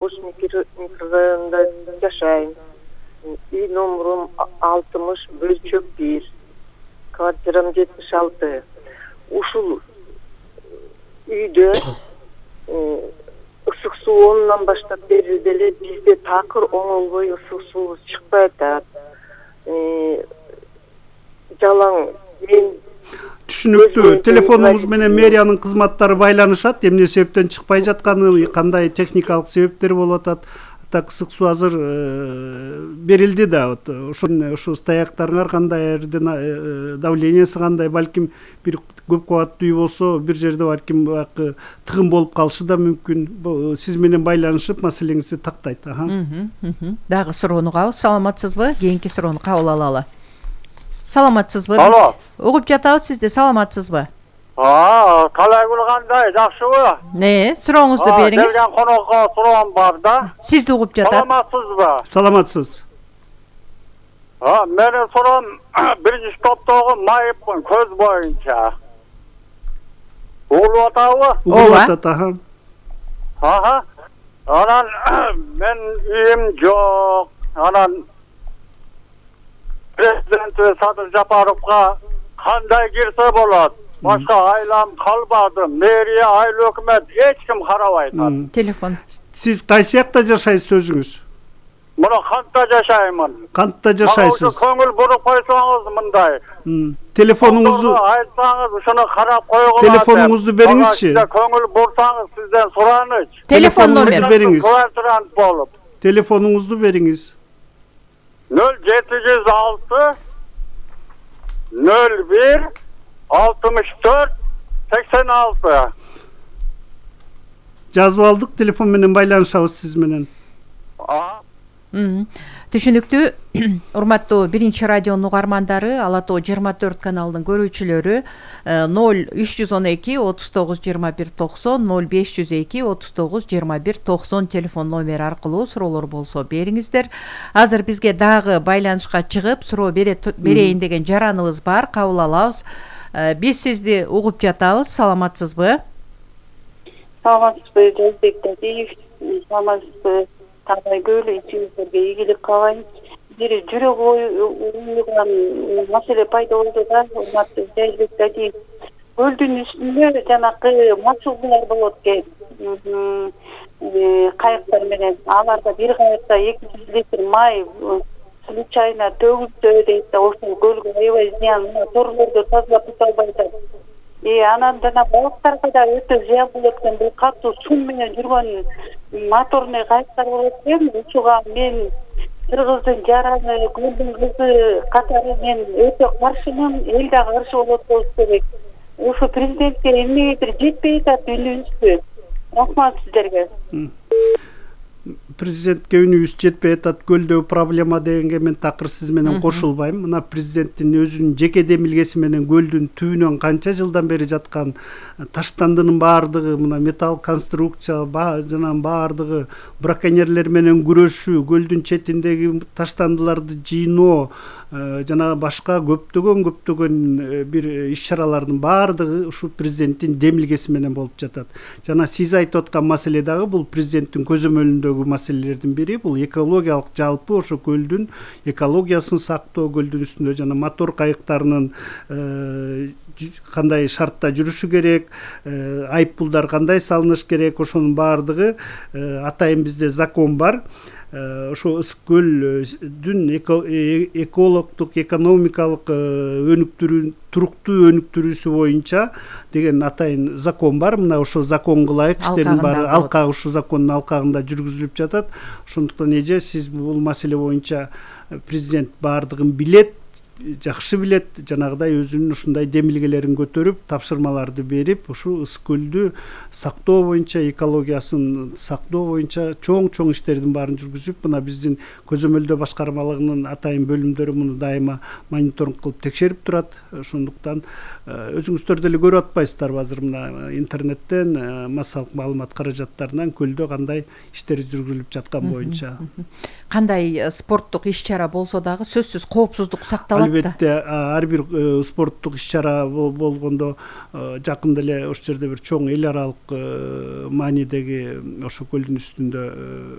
Ош микрорайонунда жашайм. Үй номерум 60 бөлчөк 1. Квартирам 76. Ушул үйдө ысык суу онунан баштап берилди эле бизде такыр оңолбой ысык суу чыкпай атат. Жалаң мен түшүнүктүү. Телефонуңуз менен мэриянын кызматтары байланышат. Эмне себептен чыкпай жатканы, кандай техникалык себептер болуп атат? Так ысык суу азыр берилди да. Ошо стояктарыңар кандай, давлениясы кандай, балким бир көп кабаттуу үй болсо, бир жерде балким тыгын болуп калышы да мүмкүн. Сиз менен байланышып маселеңизди тактайт. Дагы суроону угабыз. Саламатсызбы? Кийинки суроону кабыл алалы. Саламатсызбы? Алло. Угуп жатабыз сизди. Саламатсызбы? Калай кандай, жакшыбы? Сурооңузду бериңиз. Келген конокко суроом бар да. Сизди угуп жатат. Саламатсызбы? Саламатсыз. Менин суроом биринчи топтогу майыпмын көз боюнча. Угулуп атабы? Угулуп атат, Анан мен үйүм жок. Анан президент Садыр Жапаровго кандай кирсе болот? Башка айлам калбады. Мэрия, айыл өкмөт эч ким карабайт. Телефон. Сиз кайсы жакта жашайсыз өзүңүз? Мына кантта жашаймын. Кантта жашайсыз? Көңүл буруп койсоңуз мындай. Телефонуңузду айтсаңыз, ушуну карап койгула. Телефонуңузду бериңизчи. Көңүл бурсаңыз сизден сураныч. Телефон номер бериңиз. Квартирант болуп. Телефонуңузду бериңиз. 0706 01 64 86. Жазып алдык, телефон менен байланышабыз сиз менен. Түшүнүктүү. Урматтуу биринчи радионун угармандары, Ала Тоо 24 каналынын көрүүчүлөрү 0312 39 21 90 0502 39 21 90 телефон номери аркылуу суроолор болсо бериңиздер. Азыр бизге дагы байланышка чыгып суроо берейин деген жараныбыз бар, кабыл алабыз. Биз сизди угуп жатабыз. Саламатсызбы? Саламатсызбы, Жолбек Дадиев. Саламатсызбы, Табай Гөлү, ичиңиздерге ийгилик каалайм. Бир жүрөк оюган маселе пайда болду да, урматтуу Жолбек Дадиев. Көлдүн үстүндө жанакы мачулдуулар болот экен. Кайыктар менен. Аларда бир кайыкта 200 литр май случайно төгүлсө дейт да, ошол көлгө аябай зыян, торлорду тазалап тута албай атат. Анан жана балыктарга да өтө зыян болот экен. Бул катуу сум менен жүргөн моторный кайыктар болот экен. Ушуга мен кыргыздын жараны, көлдүн кызы катары мен өтө каршымын. Эл дагы каршы болот болуш керек. Ушу президентке эмнегедир жетпей атат үнүбүзгө. Рахмат сиздерге. Президентке үнүбүз жетпей атат, көлдөгү проблема дегенге мен такыр сиз менен кошулбайм. Мына президенттин өзүнүн жеке демилгеси менен көлдүн түбүнөн канча жылдан бери жаткан таштандынын баардыгы, мына металл конструкция жанагы баардыгы, браконьерлер менен күрөшүү, көлдүн четиндеги таштандыларды жыйноо, жана башка көптөгөн бир иш-чаралардын баардыгы ушул президенттин демилгеси менен болуп жатат. Жана сиз айтып аткан маселе дагы бул президенттин көзөмөлүндөгү маселелердин бири. Бул экологиялык, жалпы ошо көлдүн экологиясын сактоо, көлдүн үстүндө жана мотор кайыктарынын кандай шартта жүрүшү керек, айыппулдар кандай салыныш керек, ошонун баардыгы атайын бизде закон бар. Ошо ысык көлдүн экологдук, экономикалык туруктуу өнүктүрүүсү боюнча деген атайын закон бар. Мына ошол законго ылайык иштердин баары ушул закондун алкагында жүргүзүлүп жатат. Ошондуктан эже сиз бул маселе боюнча президент баардыгын билет, жакшы билет, жанагыдай өзүнүн ушундай демилгелерин көтөрүп, тапшырмаларды берип, ушу ысык көлдү сактоо боюнча, экологиясын сактоо боюнча чоң иштердин баарын жүргүзүп, мына биздин көзөмөлдөө башкармалыгынын атайын бөлүмдөрү муну дайыма мониторинг кылып текшерип турат. Ошондуктан өзүңүздөр деле көрүп атпайсыздарбы азыр мына интернеттен массалык маалымат каражаттарынан көлдө кандай иштер жүргүзүлүп жаткан боюнча. Кандай спорттук иш-чара болсо дагы сөзсүз коопсуздук сакталат албетте ар бир спорттук иш чара болгондо жакында эле ошол жерде бир чоң эл аралык маанидеги ошо көлдүн үстүндө